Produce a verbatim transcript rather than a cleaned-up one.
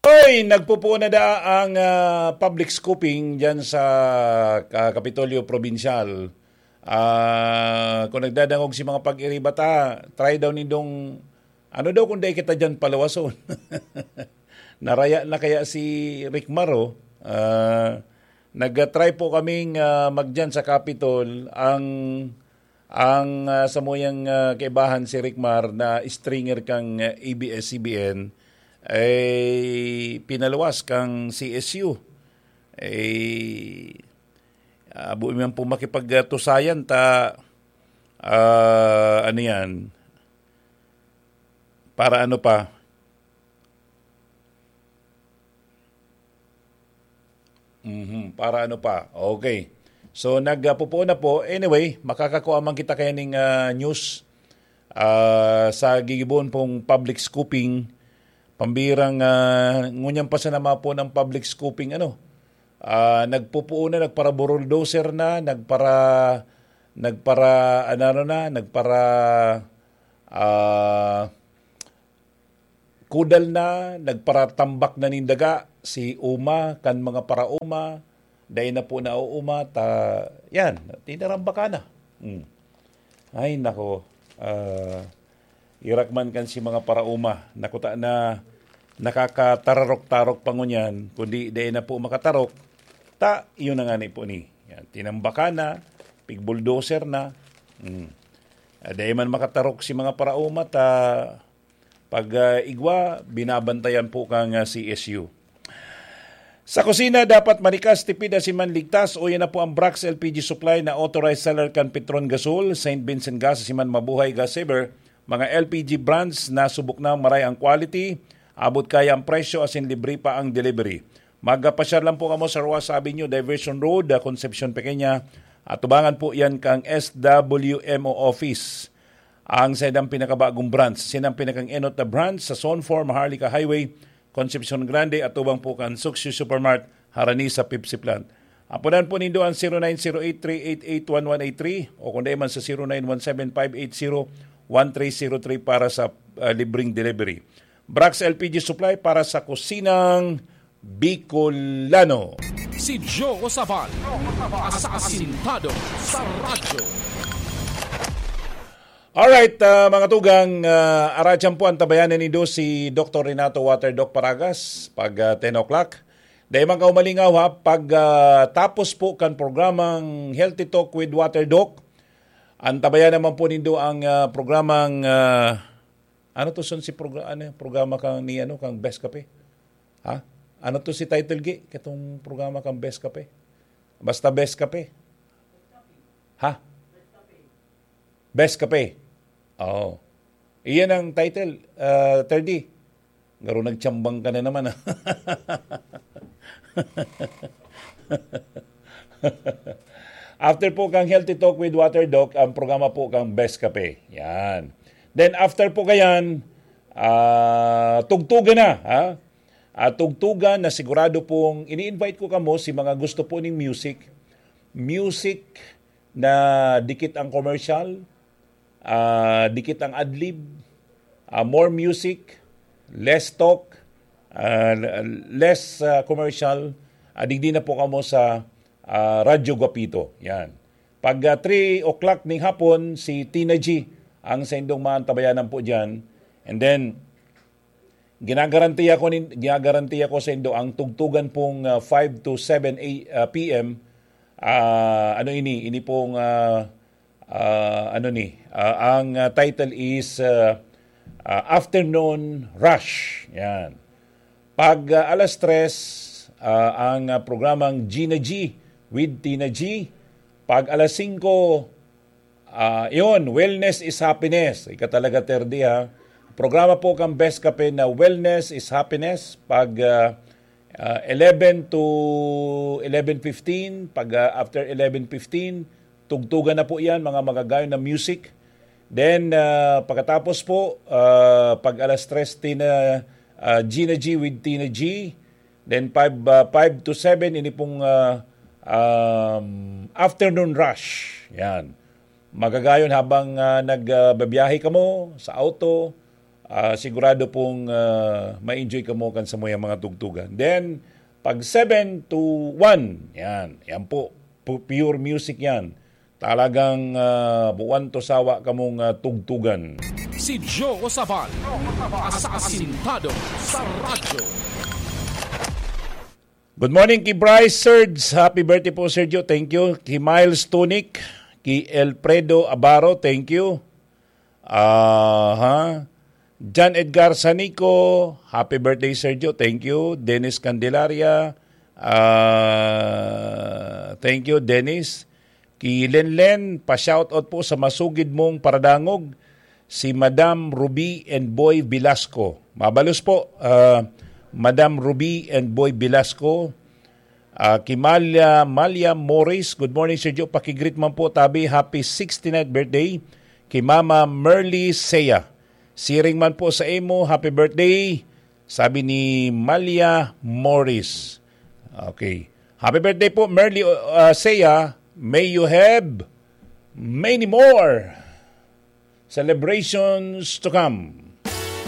Oy, nagpupuon na da ang, ah, public scooping diyan sa, ah, Kapitolyo Probinsyal. Ah, kung nagdadangog si mga pag-iribata, try daw nindong, ano daw kung dai kita diyan palawason? Naraya na kaya si Rick Maro? Ah, nag-try po kaming, ah, magdiyan sa Capitol. Ang, ang, ah, samuyang, ah, kaibahan si Rick Mar na stringer kang, ah, A B S C B N, eh, pinaluwas kang C S U. Eh, ah, buo man po makipagtusayan ta, ah, ano yan? Para ano pa? Mhm, para ano pa? Okay. So, nagpupuon na po. Anyway, makakakuha man kita kaya ning, ah, news, ah, sa gigibohon pong public scooping. Pambirang, ah, ngunyan pa sana mapo ng public scooping, ano? Ah, nagpupuon na, nagpara-bulldozer na, nagpara-, nagpara-, ano, ano na, nagpara-, ah, kudal na, nagparatambak na nin daga si Uma, kan mga parauma, dai na po nauuma, ta, yan, tinarambaka na. Hmm. Ay, nako. Ah, irak man kan si mga parauma, nakuta na nakakatararok-tarok pa ngunyan, kundi dai na po makatarok, ta, yun na nga ni po ni. Yan, tinambaka na, pigbulldozer na. Hmm. Ah, dai man makatarok si mga parauma, ta, pag, ah, igwa, binabantayan po kang, ah, C S U. Sa kusina, dapat manikas, tipid, asin man ligtas. Uya na po ang Brax L P G Supply na authorized seller kan Petron Gasol, Saint Vincent Gas, asin man Mabuhay Gas Saver. Mga L P G brands na subok na, maray ang quality, abot kaya ang presyo, asin libre pa ang delivery. Magpasyar lang po kamo sa Roas Avenue, Diversion Road, ah, Concepcion Pequeña. Atubangan po yan kang S W M O office. Ang saindang pinakabagong branch, sinang pinakang enot na branch sa Zone four Maharlika Highway, Concepcion Grande, atubang po kan Suksyo Supermart, harani sa Pepsi Plant. Aponan po nindo ang zero nine zero eight three eight eight one one eight three o kung dai man sa zero nine one seven five eight zero one three zero three para sa, ah, libreng delivery. Brax L P G Supply para sa kusinang Bicolano. Si Joe Sabal, asasintado sa radyo. Alright, ah, mga tugang, ah, aratyan po ang tabayanan nindo si Doktor Renato Water Doc Paragas pag, ah, ten o'clock. Dai man kaumalingaw ha, pag, ah, tapos po kan programang Healthy Talk with Water Doc, ang tabayan naman po nindo ang, ah, programang, ah, ano to son si progr-, ano, programa kang ni, ano, kang Best Kape? Ha? Ano to si title gi? Katong programa kang Best Kape? Basta Best Kape. Ha? Best Kape. Oo. Iyan ang title, ah, thirty. Garo nagtsambang ka na naman, ah. After po kang Healthy Talk with Water Doc, ang programa po kang Best Kape. Yan. Then after po kayan, ah, tugtugan na, ha? At tugtugan na sigurado pong ini-invite ko kamo si mga gusto po ning music. Music na dikit ang commercial, ah, dikit ang adlib, ah, more music, less talk, ah, less, ah, commercial. Ah, digdi na po kamo sa, ah, Radyo Guapito. Yan. Pag, ah, three o'clock ning hapon, si Tina G ang saindong maantabayanan po dyan. And then, ginagarantiya ko nin-, ginagarantiya ko sa indo ang tugtugan pong, ah, five to seven a-, ah, P M. Ah, ano ini? Ini pong, ah, ah, ano ni? Ah, ang, ah, title is, ah, ah, Afternoon Rush. Yan. Pag, ah, alas tres, ah, ang, ah, programang Gina G with Tina G. Pag alas singko, ah, yun, Wellness is Happiness. Ika talaga, Terdi, ha? Programa po kang Best Kape na Wellness is Happiness. Pag, ah, ah, eleven to eleven fifteen, pag, ah, after eleven fifteen, tugtugan na po yan, mga magagayon na music. Then, ah, pagkatapos po, ah, pag alas tres, Tina, ah, Gina G with Tina G. Then five, ah, five to seven, ini pong, ah, um, afternoon rush. Yan. Magagayon habang, ah, nag, ah, babiyahe kamo sa auto, Ah, sigurado pong, ah, ma-enjoy kamo kan samuyang mga tugtugan. Then, pag seven to one, yan. Yan po. Pu-, pure music yan. Talagang, ah, buwan to sawa kamong, ah, tugtugan. Si Joe Sabal, asasintado sa radyo. Good morning ki Bryce Serge. Happy birthday po, Sergio. Thank you. Ki Miles Tunic, ki Elfredo Abaro, thank you. Aha. John Edgar Sanico, happy birthday, Sergio. Thank you. Dennis Candelaria, ah, thank you, Dennis. Ki Lenlen, pa-shoutout po sa masugid mong paradangog, si Madam Ruby and Boy Velasco. Mabalos po, ah, Madam Ruby and Boy Velasco. Ah, ki Malia, Malia Morris, good morning, Sergio. Pakigreet man po, tabi, happy sixty-ninth birthday. Ki Mama Merly Sea, siring man po sa imo, happy birthday, sabi ni Malia Morris. Okay. Happy birthday po, Merly, uh, Sea. May you have many more celebrations to come.